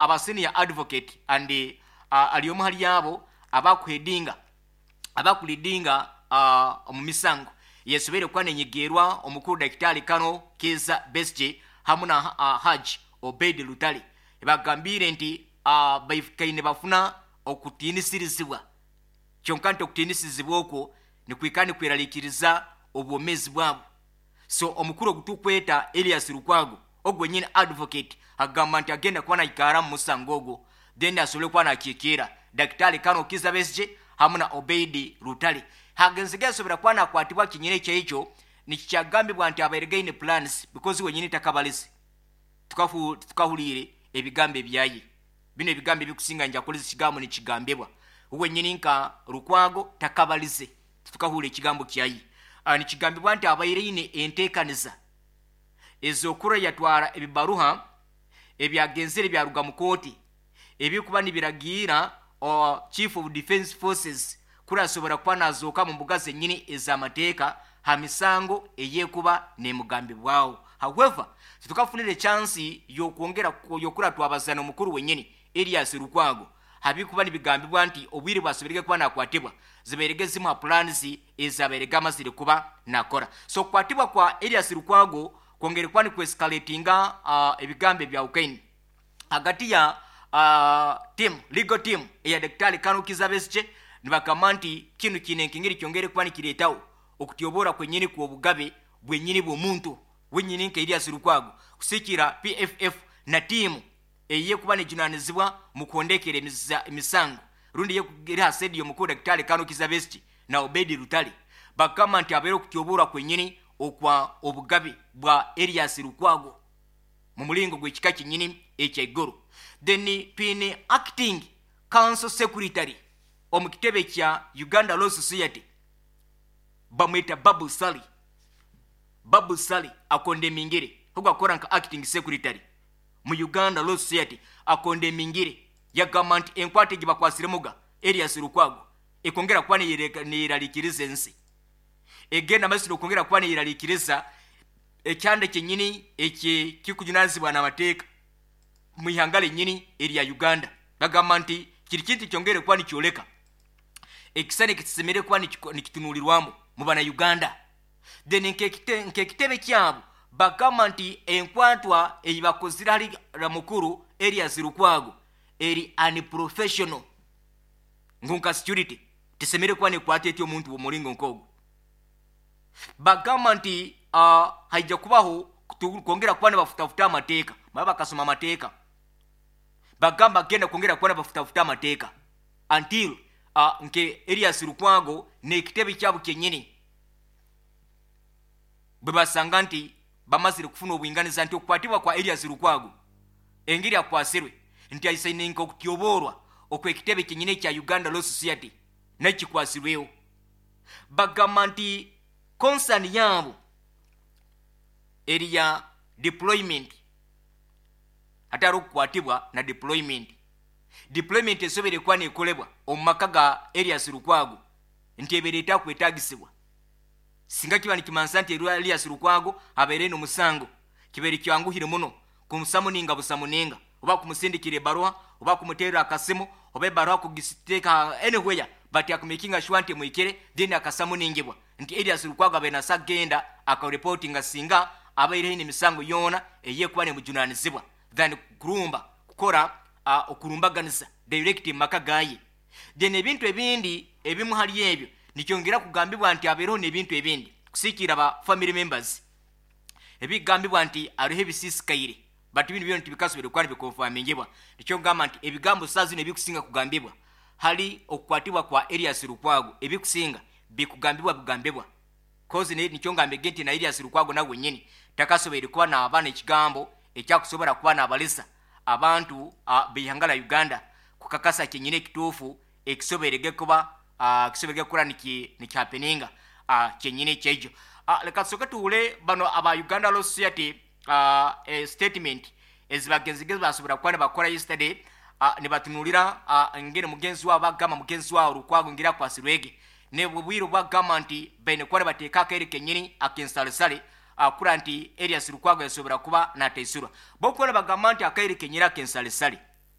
Aba senior advocate and ali omu hali abo abakuheadinga, abakuleadinga omu misango yesoboire kuba nenyegerwa omukuru Daktari Kano Kiiza Besigye hamu na Hajj Obeid Lutale. Bagambire nti baikaine bafuna okutiinisirizibwa, kyonka nti okutiinisirizibwa okwo nikwikara nikweraliikiriza obwomeezi bwabo. So omukuru ogu tukweta Elias Lukwago, ogwo wenyini advocate, agamba nti agenda kuba naikara mu musango ogwo, then asobole kuba nakiikirra Daktari Kano Kiiza Besigye hamu na Obeid Lutale. Hagenzi gesobora kuba nakwatibwa kinyine ekyekyo nikikyagambibwa nti abaire gaine plans, because wenyini takabalize, tukahuliire ebigambo ebyaye. Bino ebigambo ebikusinga njakoleza ekigambo nikigambibwa wenyini nka Lukwago takabalize, tukahuura ekigambo kyaye. Nikigambibwa nti abaire ine enteekaniza ez'okura yatwara ebibaruha ebyagenzere byaruga mu kooti ebikuba nibiragiira Chief of Defense Forces kurasobora kuba nazooka mu mbuga zenyini ez'amateeka ha misango eyekuba nemugambibwaho. However, titukafunire chance yokwongera yokura twabazana omukuru wenyini Elias Lukwago habikuba nibigambibwa nti obwire bwasoberege kuba nakwatibwa zibairege zimu ha plans ezabairege amazire kuba nakora. So kukwatibwa kwa Elias Lukwago kwongere kuba nikwescalatinga ebigambo ebya Ukraine hagati ya team, legal team eya Daktari Kano Kiiza Besigye. Nibagamba nti kinu kiine enkengeri kyongere kuba nikireetaho okutyobora kwenyini kw'obugabe bwenyini bw'omuntu wenyini nka Elias Lukwago, kusikira PFF na tiimu eyekuba nejunanizibwa mu kuhondekera emisango rundi eri ha side y'omukuru Daktari Kano Kiiza Besigye na Obeid Lutale. Bagamba nti abeere okutyoborwa kwenyini okwa obugabe bwa Elias Lukwago mu mulingo gw'ekika kyenyini ekyaiguru. Then twine acting council secretary omu kitebe kya Uganda Law Society, bamweta Babu Sali. Babu Sali acondemingire, ogwo akora nka acting secretary mu Uganda Law Society, acondemingire, yagamba nti enkwata egi bakwasiremuga Elias Lukwago ekongera kuba neyeraliikiriza ensi, egenda maiso nokwongera kuba neyeraliikiriza ekyanda kyenyini eki kikujunanizibwa n'amateeka mu ihanga lenyini erya Uganda. Bagamba nti kiri kintu kyongere kuba nikyoleka ekisani ekitusemere kuba nikitunulirwamu mu bana Uganda. Then nk'ekitebe kyabo bagamba nti enkwatwa ei bakozire hali mukuru Elias Lukwago eri unprofessional, ngu nka security tisemere kuba nekwata eti omuntu w'omulingo nk'ogwo. Bagamba nti haija kubaho kwongera kuba nibafutafuta amateeka, baba bakasoma amateeka, bagamba genda kwongera kuba nibafutafuta amateeka until nke Elias Lukwago n'ekitebe kyabo kyenyini bwe basanga nti bamazire kufuna obwinganiza nti okukwatibwa kwa Elias Lukwago engeri akwasirwe nti aisaine nka okutyoborwa okw'ekitebe kyenyini ekya Uganda Law Society nakikwasirweho. Bagamba nti concern yaabo eri ya deployment, hatari okukwatibwa na deployment. Deployment esobere kuba nekolebwa omu maka ga Elias Lukwago nti ebeere etakwetagisibwa singa kiba nikimansa nti Elias Lukwago abeere n'omusango, kibeere kyanguhire muno kumusummoninga busummoninga oba kumusindikira ebaruha oba kumuteerera akasimu oba ebaruha kugisiteeka anywhere, but akumakinga sure nti mwikire, then akasummoningibwa nti Elias Lukwago abeere nasa genda akareportinga singa abaire haine emisango yoona eyekuba nemujunanizibwa, than kurumba kukora okurumbaganiza direct mu maka gaye. Then ebintu ebindi ebimu hali ebyo nikyongera kugambibwa nti abeereho n'ebintu ebindi kusiikira ba family members ebigambibwa nti ariho ebisiisikaire, but bino byona tibikasobere kuba nibiconfirmingibwa. Nikyo ngamba nti ebigambo saa zino ebikusinga kugambibwa hali okukwatibwa kwa Elias Lukwago ebikusinga bikugambibwa bigambibwa, cause nikyo ngambege nti na Elias Lukwago nawe wenyini takasoboire kuba naaba n'ekigambo ekyakusobora kuba naabalisa abantu b'ihanga la Uganda kukakasa kyenyini ekituufu ekisoberege kuba kisoberege kukora nikihappeninga kyenyini ekyejo. Leka tusooke tuwule bano aba Uganda Law Society statement ezibagenzige basobora kuba nibakora yesterday, nibatunulira ngeri mugenzi wabo, bagamba mugenzi wabo Lukwago ngeri akwasirwege nebwe bwire bwagamba nti baine kuba nibateeka akaire kenyini akensalesale akura nti Elias Lukwago yasobora kuba nataisurwa. Bokuba nibagamba nti akaire kenyini akensalesale.